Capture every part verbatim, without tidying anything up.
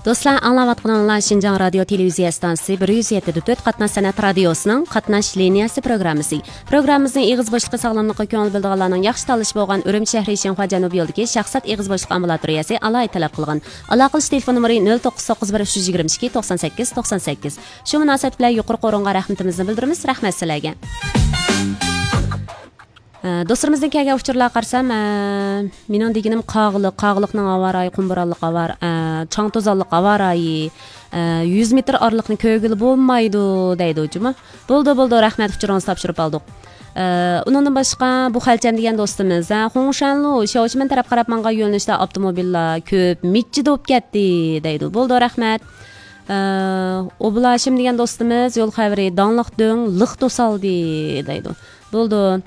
دوستلار، ئاڭلاۋاتقىنىڭلار شىنجاڭ رادىيو تېلېۋىزىيە ئىستانسىسى بىر يۈز يەتتە نۆقتە تۆت قاتناش سەنئەت رادىيوسىنىڭ قاتناش لىنىيەسى پروگراممىسى. پروگراممىمىزنىڭ ئېغىز بوشلۇقى ساغلاملىققا كۆڭۈل بۆلىدىغانلارنىڭ ياخشى تاللىشى بولغان ئۈرۈمچى شەھىرى شىنخۇا جەنۇبىي يولىدىكى شاخسات ئېغىز بوشلۇق ئامبۇلاتورىيەسى ئالاھىدە تەلەپ قىلغان. ئالاقىلىشىش تېلېفون نومۇرى نۆل توققۇز توققۇز بىر ئۈچ يۈز يىگىرمە ئىككى توقسان سەككىز توقسان سەككىز. شۇ مۇناسىۋەت بىلەن يۇقىرىقى ئورۇنغا رەھمىتىمىزنى بىلدۈرىمىز. رەھمەت سىلەرگە. ئە، دوستلىرىمىزدىن كەلگەن ئۇچۇرلارغا قارىسام، ئە، مېنىڭ دېگىنىم قاغىلىق، قاغىلىقنىڭ ھاۋا رايى قۇم بورانلىق ھاۋا، ئە، چاڭ توزانلىق ھاۋا رايى، ئە، يۈز مېتىر ئارىلىقنى كۆرگىلى بولمايدۇ دەيدۇ جۇمۇ. بولدى، بولدى، رەھمەت، ئۇچۇرىڭىزنى تاپشۇرۇپ ئالدۇق. ئە، ئۇنىڭدىن باشقا بۇ خەلچەم دېگەن دوستىمىز، ھە، خۇڭشەنلۇ، شياۋشىمېن تەرەپ قاراپ ماڭغان يۆنىلىشتە ئاپتوموبىللار كۆپ، مىچچىدە بولۇپ كەتتى دەيدۇ. بولدى، رەھمەت. ئە، ئوبۇل ھاشىم دېگەن دوستىمىز يول خەۋىرى، داڭلىق دۆڭ لىق توسالدى دەيدۇ. بولدى.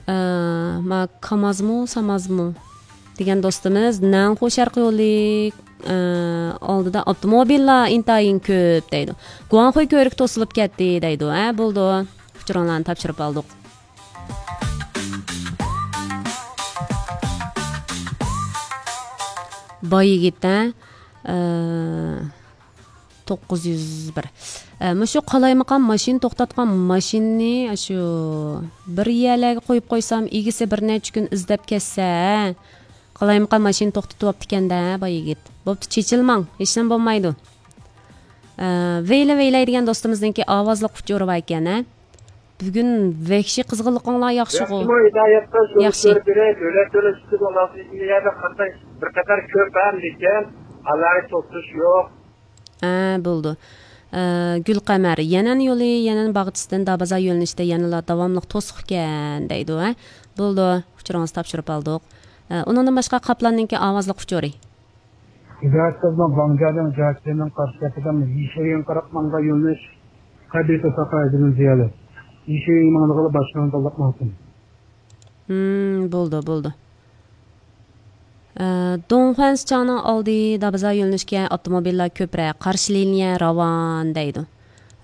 ئە، ما كامازمۇ، سامازمۇ دېگەن دوستىمىز، نەنخۇ شەرقىي يولى، ئە، ئالدىدا ئاپتوموبىللار ئىنتايىن كۆپ دەيدۇ. گۇاڭخۇي كۆۋرۈكى توسۇلۇپ كەتتى دەيدۇ. ھە، بولدى. ئۇچۇرۇڭلارنى تاپشۇرۇپ ئالدۇق. باي يىگىت، ھە؟ ئە، توققۇز يۈز بىر. ئە، مۇشۇ قالايمىقان ماشىنا توختاتقان ماشىنىنى شۇ بىر يەرلەرگە قويۇپ قويسام، ئىگىسى بىر نەچچە كۈن ئىزدەپ كەتسە، ھە؟ قالايمىقان ماشىنا توختىتىۋاپتىكەن-دە، باي يىگىت. بوپتۇ، چېچىلماڭ، ھېچنېمە بولمايدۇ. ئە، ۋەيلە ۋەيلەي دېگەن دوستىمىزنىڭكى ئاۋازلىق ئۇچۇرى بار ئىكەن، ھە؟ بۈگۈن ۋەھشىي قىزغىنلىقىڭلار ياخشىغۇ. ياخشىمۇ، ھىدايەت قىل، شۇنى ياخشى. كۆرۈپ بېرەي، دۆلەت تۆلەش ئۈچۈن ئۇلارنىڭ يەنە قاتناش بىر قەدەر كۆپ ھەم، لېكىن ئالاھىدە توختىتىش يوق. ھە، بولدى. ئە، گۈلقەمەر، يەنەن يولى، يەنەن باغچىسىدىن دابازار يۆنىلىشىدە يەنىلا داۋاملىق توسۇق ئىكەن دەيدۇ، ھە. بولدى، ئۇچۇرىڭىزنى تاپشۇرۇپ ئالدۇق. ئە، ئۇنىڭدىن باشقا قاپلاننىڭكى ئاۋازلىق ئۇچۇرى. ھىدايەت قىزنىڭ ۋاڭجيەنىڭ جياچيەننىڭ قارشى تەرىپىدە يىشىيىڭ قاراپ ماڭغان يۆنىلىش قەبىلە توساققا ئەزىلىنى زىيالەت. يىشىيىڭ ماڭىدىغىلى باشقىنى تاللاپ ماڭسۇن. ھىم، بولدى، بولدى. ئە، دۇڭخۇەن سىچاڭنىڭ ئالدى دابازار يۆنىلىشكە ئاپتوموبىللار كۆپرەك، قارشى لىنىيە راۋان دەيدۇ.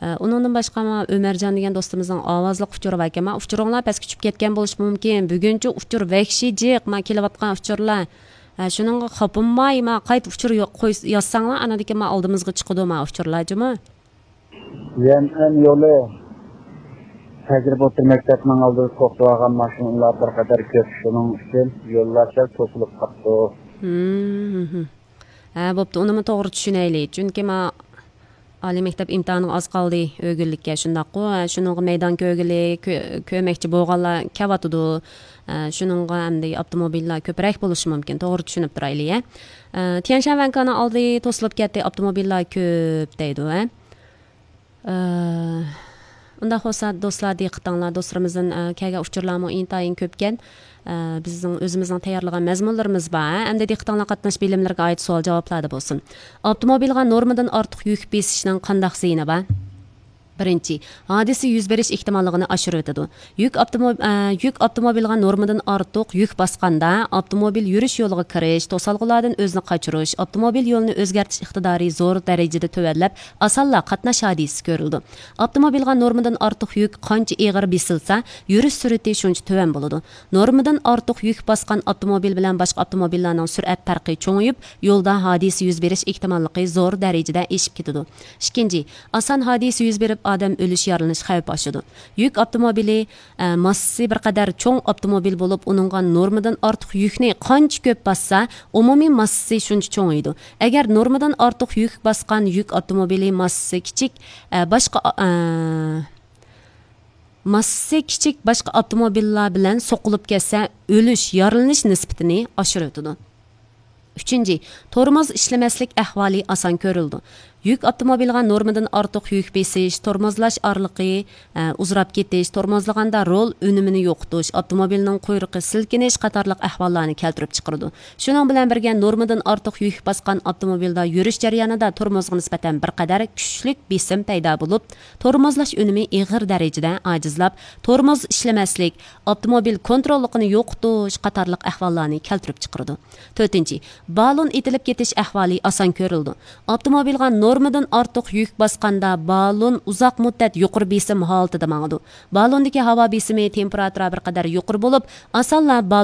ئە، ئۇنىڭدىن باشقا، ئۆمەرجان دېگەن دوستىمىزنىڭ ئاۋازلىق ئۇچۇرى باركەن. ما، ئۇچۇرۇڭلار پەسكە چۈشۈپ كەتكەن بولۇشى مۇمكىن. بۈگۈنچە ئۇچۇر ۋەھشىي جىق، ما، كېلىۋاتقان ئۇچۇرلار. ئە، شۇنىڭغا خاپىماي، ما، قايتا ئۇچۇر يو-، قوي-، يازساڭلار، ئانىدىكى، ما، ئالدىمىزغا چىقىدۇ، ما، ئۇچۇرلار جۇمۇ. يەنئەن يولى تەجرىبە ئوتتۇرا مەكتەپنىڭ ئالدىدا توختىۋالغان ماشىنىلار بىر قەدەر كۆپ، شۇنىڭ ئۈچۈن يوللار سەل توسۇلۇپ قاپتۇ. ھىم، ھىم، ھىم. ھە، بوپتۇ، ئۇنىمۇ توغرا چۈشىنەيلى. چۈنكى ما ئالىي مەكتەپ ئىمتىھانىغا ئاز قالدى، ئۆگۈنلۈككە، شۇنداققۇ؟ ھە، شۇنىڭغا مەيدان كۆرگىلى، كۆ-، كۆرمەكچى بولغانلار كەۋاتىدۇ. ھە، شۇنىڭغا ئەمدى ئاپتوموبىللار كۆپرەك بولۇشى مۇمكىن. توغرا چۈشىنىپ تۇرايلى، ھە. ئە، تيەنشان ۋەنكانىڭ ئالدى توسۇلۇپ كەتتى، ئاپتوموبىللار كۆپ دەيدۇ، ھە. ئە، ئۇنداق بولسا، دوستلار، دىققىتىڭلار، دوستلىرىمىزدىن، ئە، كەلگەن ئۇچۇرلارمۇ ئىنتايىن كۆپكەن. ئە، بىزنىڭ ئۆزىمىزنىڭ تەييارلىغان مەزمۇنلىرىمىز بار، ھە؟ ئەمدى دىققىتىڭلار قاتناش بىلىملىرىگە ئائىت سوئال-جاۋابلاردا بولسۇن. ئاپتوموبىلغا نورمىدىن ئارتۇق يۈك بېسىشنىڭ قانداق زىيىنى بار؟ بىرىنچى، ھادىسە يۈز بېرىش ئېھتىماللىقىنى ئاشۇرۇۋېتىدۇ. يۈك ئاپتوموب-، ئە، يۈك ئاپتوموبىلغا نورمىدىن ئارتۇق يۈك باسقاندا، ئاپتوموبىل يۈرۈش يولىغا كىرىش، توسالغۇلاردىن ئۆزىنى قاچۇرۇش، ئاپتوموبىل يولىنى ئۆزگەرتىش ئىقتىدارى زور دەرىجىدە تۆۋەنلەپ، ئاسانلا قاتناش ھادىسىسى كۆرۈلىدۇ. ئاپتوموبىلغا نورمىدىن ئارتۇق يۈك قانچە ئېغىر بېسىلسا، يۈرۈش سۈرئىتى شۇنچە تۆۋەن بولىدۇ. نورمىدىن ئارتۇق يۈك باسقان ئاپتوموبىل بىلەن باشقا ئاپتوموبىللارنىڭ سۈرئەت پەرقى چوڭىيىپ، يولدا ھادىسە يۈز بېرىش ئېھتىماللىقى زور دەرىجىدە ئېشىپ كېتىدۇ. ئىككىنچى، ئاسان ھادىسە يۈز بېرىپ، ئادەم ئۆلۈش، يارىلىنىش خەۋپى ئاشىدۇ. يۈك ئاپتوموبىلى، ئە، ماسسىسى بىر قەدەر چوڭ ئاپتوموبىل بولۇپ، ئۇنىڭغا نورمىدىن ئارتۇق يۈكنى قانچە كۆپ باسسا، ئومۇمىي ماسسىسى شۇنچە چوڭىيىدۇ. ئەگەر نورمىدىن ئارتۇق يۈك باسقان يۈك ئاپتوموبىلى ماسسىسى كىچىك، ئە، باشقا، ئە، ماسسىسى كىچىك باشقا ئاپتوموبىللار بىلەن سوقۇلۇپ كەتسە، ئۆلۈش، يارىلىنىش نىسبىتىنى ئاشۇرۇۋېتىدۇ. ئۈچىنچى، تورمۇز ئىشلىمەسلىك ئەھۋالى ئاسان كۆرۈلىدۇ. يۈك ئاپتوموبىلىغا نورمىدىن ئارتۇق يۈك بېسىش، تورمۇزلاش ئارىلىقى، ئە، ئۇزىراپ كېتىش، تورمۇزلىغاندا رول ئۈنۈمىنى يوقىتىش، ئاپتوموبىلنىڭ قۇيرۇقى سىلكىنىش قاتارلىق ئەھۋاللارنى كەلتۈرۈپ چىقىرىدۇ. شۇنىڭ بىلەن بىرگە، نورمىدىن ئارتۇق يۈك باسقان ئاپتوموبىلدا يۈرۈش جەريانىدا تورمۇزغا نىسبەتەن بىر قەدەر كۈچلۈك بېسىم پەيدا بولۇپ، تورمۇزلاش ئۈنۈمى ئېغىر دەرىجىدە ئاجىزلاپ، تورمۇز ئىشلىمەسلىك، ئاپتوموبىل كونتروللۇقىنى يوقىتىش قاتارلىق ئەھۋاللارنى كەلتۈرۈپ چىقىرىدۇ. تۆتىنچى، بالون ئېتىلىپ كېتىش ئەھۋالى ئاسان كۆرۈلىدۇ. ئاپتوموبىلغا نورمىدىن ئارتۇق يۈك باسقاندا، بالون ئۇزاق مۇددەت يۇقىرى بېسىم ھالىتىدە ماڭىدۇ. بالوندىكى ھاۋا بېسىمى، تېمپېراتۇرا بىر قەدەر يۇقىرى بولۇپ، ئاسانلا بالون